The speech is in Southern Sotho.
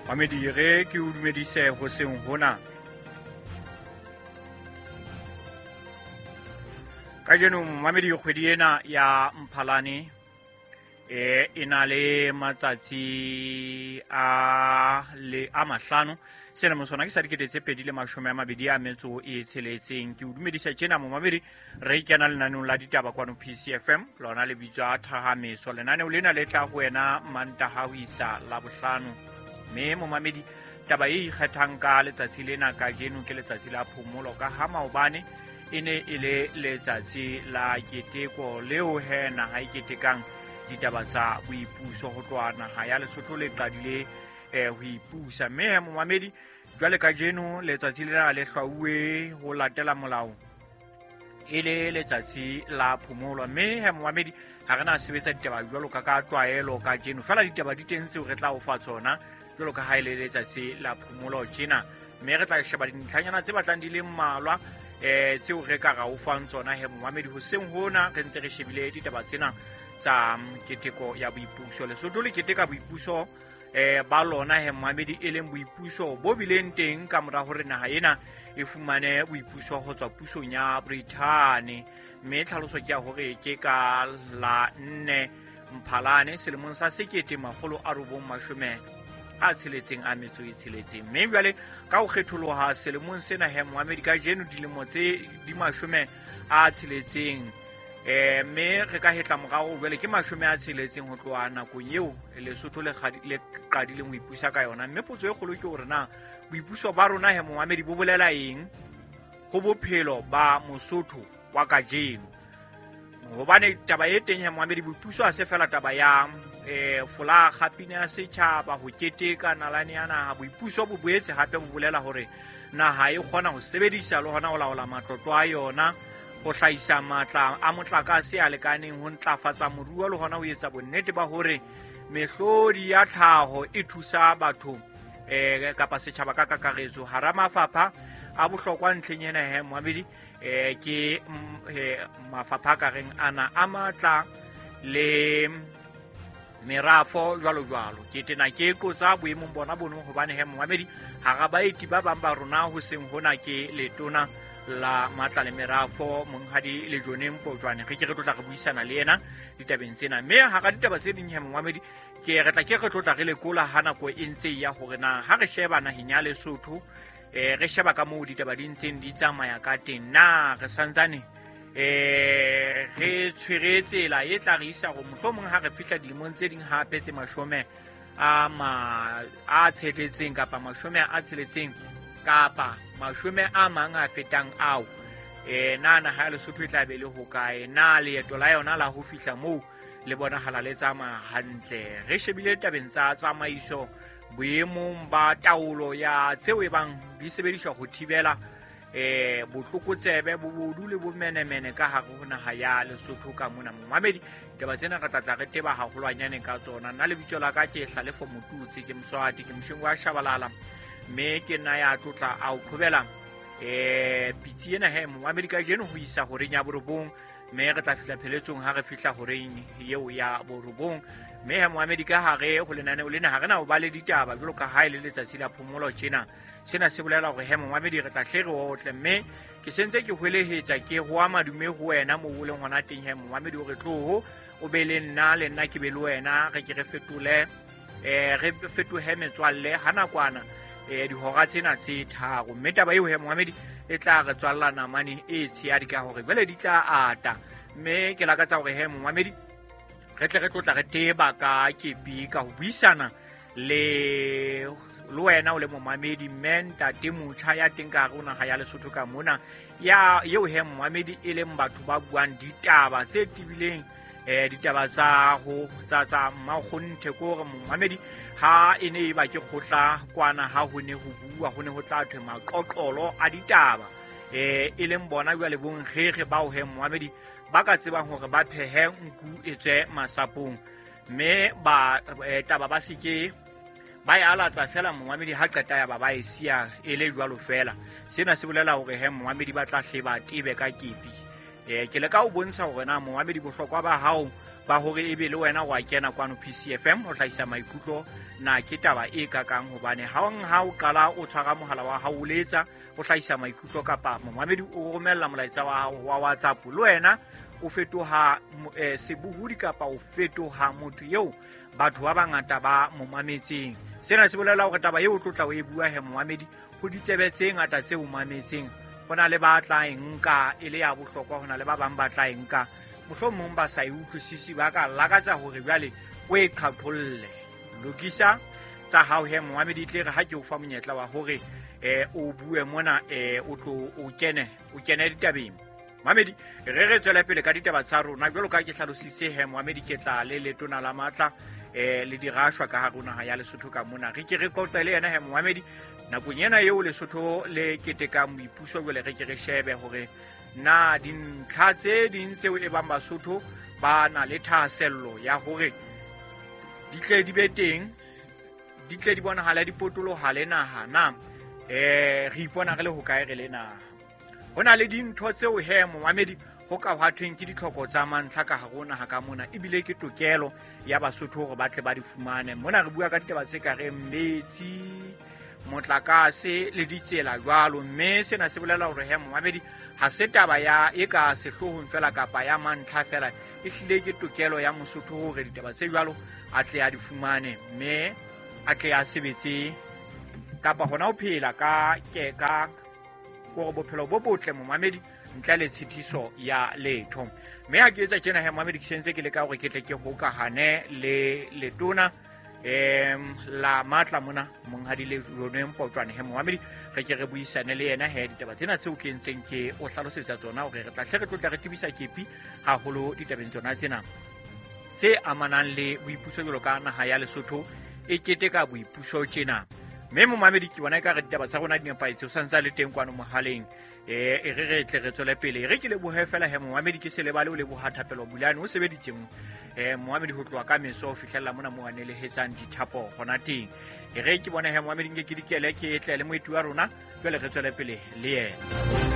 Mamedi re ke o dumedise hoseng hona. Kajeno mamedi kgwedi ena ya Mphalane e na le matsatsi a le a mahlano selemo sona ke sa 2026. Ke o dumedisa tjena momamedi, re kena lenaneong la ditaba kwano PCFM, lona le bitswa Thahameso. Lenaneo lena le tla ho wena Mantaha ho isa Labohlano. Mme momamedi, taba e ikgethang ka letsatsi lena kajeno ke letsatsi la phomolo, ka ha maobane e ne e le letsatsi la keteko leo he naha e ketekang ditaba tsa boipuso ho tloha naha ya Lesotho le qadile ho ipusa. Mme he momamedi, jwale kajeno letsatsi lena le hlwauwe ho latela molao e le letsatsi la phomolo. Mme he momamedi, ha re na sebetsa ditaba jwalo ka tlwaelo kajeno, fela ditaba di teng tseo re tla o fa tsona jwalo ka ha e le letsatsi la phomolo tjena. Mme re tla sheba dintlhanyana tse batlang di le mmalwa tseo re ka ra o fang tsona he momamedi hoseng hona, re ntse re shebile ditaba tsena tsa keteko ya boipuso. Lesotho le keteka boipuso ba lona he momamedi, e leng boipuso bo bileng teng ka mora hore naha ena e fumane boipuso ho tswa pusong ya Brithani. Mme tlhaloso ke ya hore ke ka la 4 Mphalane selemong sa 1966. Mme jwale ka ho kgetholoha selemong sena he momamedi, kajeno dilemo tse di 60, mme re ka hetla morao jwale ke 60 ho tloha nakong eo Lesotho le qadileng ho ipusa ka yona. Mme potso e kgolo ke hore na boipuso ba rona he momamedi bo bolela eng ho bophelo ba Mosotho wa kajeno, hobane taba e teng he momamedi, boipuso ha se fela taba ya folaga, pina ya setjhaba, ho keteka nalane ya naha. Boipuso bo boetse hape bo bolela hore naha e kgona ho sebedisa le hona ho laola matlotlo a yona, ho hlahisa matla a motlakase a lekaneng, ho ntlafatsa moruo le hona ho etsa bonnete ba hore mehlodi ya tlhaho e thusa batho kapa setjhaba ka kakaretso. Hara mafapha a bohlokwa ntlheng ena he momamedi, ke mafapha a kareng ana a matla le merafo jwalo jwalo. Ke tena ke qotsa boemong bona bono, hobane he momamedi, hara baeti ba bang ba rona hoseng hona ke letona la matla le merafo monghadi Lejone Mpotjoane. Re ke re tlotla re buisana le yena ditabeng tsena. Mme hara ditaba tse ding he momamedi, ke re tla ke re tlotla re lekola ha nako e ntse ya hore na ha re sheba naheng ya Lesotho, re sheba ka moo ditaba di ntseng di tsamaya ka teng, na re santsane re tshwere tsela e tla re isa hore mohlomong ha re fihla dilemong tse ding hape tse 60 kapa 60 kapa 10 a mang a fetang ao, na naha ya Lesotho e tla be le hokae? Na leeto la yona la ho fihla moo le bonahala le tsamaya hantle? Re shebile tabeng tsa tsamaiso boemong ba taolo ya tseo e bang di sebediswa ho thibela botlokotsebe, bobodu le bomenemene ka hare ho naha ya Lesotho ka mona. Momamedi, ditaba tsena re tla re teba haholwanyane ka tsona. Nna lebitso la ka ke Hlalefo Motutsi, ke Moswati, ke mosheng wa Shabalala, mme ke nna ya tlotla a o qhobela pitsi ena he momamedi kajeno ho isa horeng ya 9, mme re tla fihla pheletsong ha re fihla horeng eo ya 9. Mme he momamedi, ka hare ho lenaneo lena ha re na ho ba le ditaba jwalo ka ha e le letsatsi la phomolo tjena. Sena se bolela hore he momamedi re tla hle re otle, mme ke sentse ke hwelehetsa ke hoa madume ho wena moo o leng hona teng he momamedi, hore tloho o be le nna, le nna ke be le wena, re ke re fetole re fetohe metswalle ha nakwana dihora tsena tse 3. Mme taba eo he momamedi e tla re tswalla namane e tshehadi ka hore jwale di tla ata. Mme ke lakatsa hore he momamedi re tle re tlotla re teba ka kepi ka ho buisana le wena o le momamedi, mme ntate motjha ya teng ka hare ho naha ya Lesotho ka mona, ya eo he momamedi e leng batho ba buang ditaba tse tebileng, ditaba tsa ho tsa mmakgonthe. Ke hore momamedi ha e ne e ba ke kgotla kwana ha ho ne ho bua, ho ne ho tla thwe maqoqolo a ditaba, e leng bona jwale bonkgekge bao he momamedi ba ka tsebang hore ba phehe nku e tswe masapong, mme ba taba ba seke ba e alatsa fela momamedi ha qeta ya ba ba e siya e le jwalo fela. Sena se bolela hore he momamedi ba tla hle ba tebe ka kepi. Ke leka ho bontsha hore na momamedi bohlokwa ba hao Ba hore ebe le wena wa kena kwano PCFM o hlahisa maikutlo, na ke taba e kakang? Hobane hang ha o qala o tshwara mohala wa hao o letsa o hlahisa maikutlo, kapa momamedi o romella molaetsa wa hao wa WhatsApp, le wena o fetoha sebohodi kapa o fetoha motho eo batho ba bangata ba mo mametseng. Sena se bolela hore taba eo o tlo tla o e bua he momamedi, ho ditsebe tse ngata tse o mametseng. Ho na le ba tla e nka e le ya bohlokwa, ho na le ba bang ba tla e nka mohlomong ba sa e utlwisisi, ba ka lakatsa hore jwale o e qhaqholle. Lokisa tsa hao he momamedi, tle re ha ke o fa monyetla wa hore o bue mona, o tlo o kene ditabeng. Mamedi, re tswele pele ka ditaba tsa rona. Jwalo ka ke hlalositse he momamedi, ke tla le letona la matla le dirashwa ka hare naha ya Lesotho ka mona. Re ke re qoqe le yena he momamedi nakong ena eo Lesotho le ketekang boipuso. Jwale re ke re shebe hore na dintlha tse ding tseo e bang Basotho ba na le thahasello ya hore di tle di be teng, di tle di bonahale, di potolohale naha, na re ipona re le hokae re le naha. Ho na le dintho tseo he momamedi ho ka hwa thweng ke ditlhoko tsa mantlha ka hare ho naha ka mona, ebile ke tokelo ya Basotho hore ba tle ba di fumane. Mona re bua ka ditaba tse ka reng metsi, motlakase le ditsela jwalo. Mme sena se bolela hore he momamedi, ha se taba ya e ka sehloohong fela kapa ya mantlha fela, e hlile ke tokelo ya Mosotho hore ditaba tse jwalo a tle a di fumane, mme a tle a sebetse kapa hona ho phela ka ke ka kore bophelo bo botle momamedi, ntle le tshitiso ya letho. Mme ha ke etsa tjena he momamedi, ke sentse ke leka hore ke tle ke hokahane le letona la matla mona, monghadi le Lone Mpotjwane he momamedi, re ke re buisane le yena he ditaba tsena tseo ke ntseng ke o hlalosetsa tsona, hore re tla hle re tlotla re tebisa kepi haholo ditabeng tsona tsena tse amanang le boipuso jwalo ka naha ya Lesotho e keteka boipuso tjena. Mme momamedi, ke bona ekare ditaba tsa rona di nepahetse, o santse a le teng kwano mohaleng. E re re tle re tswele pele. E re ke lebohe fela he momamedi, ke se lebale o leboha Thapelo Bulane o sebeditseng momamedi ho tloha ka meso ho fihlella mona mo a nelehetsang dithapo hona teng. E re ke bone he momamedi, nke ke dikele ke tle le moeti wa rona, jwale re tswele pele le yena.